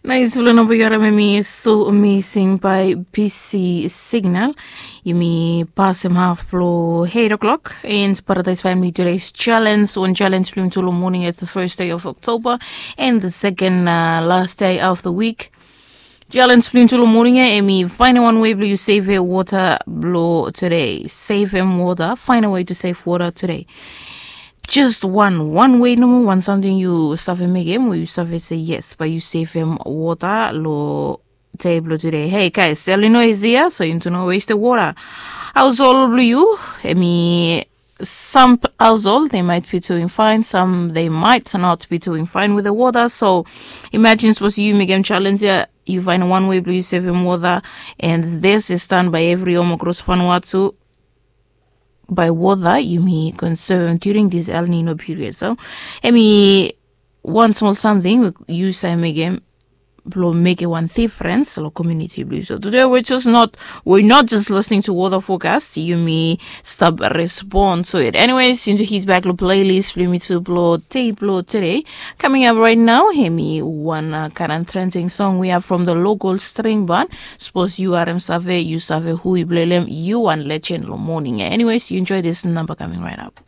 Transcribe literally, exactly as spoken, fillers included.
Nais blo namba yu harim em i so amazing by B C Signal. Yumi pasem half blo eight o'clock and Paradise family today's challenge. One challenge blo yumi tu lo morning at the first day of October and the second uh, last day of the week. Challenge blo yumi tu lo morning ya em i find one way blo yu save water blo today. Save em water. Find a way to save water today. Just one, one way nomo, one something yu save mekem we yu save se yes, but yu save em water lo table today. Hey guys, El Nino is here, so you need to know waste the water. Household blo yu, em i some household they might be doing fine, some they might not be doing fine with the water. So imagine suppose yu mekem challenge ya, yu find one way blo yu save em water, and this is done by every home across Vanuatu. By water yumi conserve during this El Nino period. So em i one small something we yu save mekem blo mekem one difference lo community blo yu. So today we're just not we're not just listening to water forecast. Yumi stap respond to it. Anyways, into his back lo playlist blo yumi tu blo day blo today. Coming up right now, em i one uh, current trending song we have from the local string band. Suppose yu harim save, yu save hu i play lo em, yu one legend lo morning. Anyways, you enjoy this number coming right up.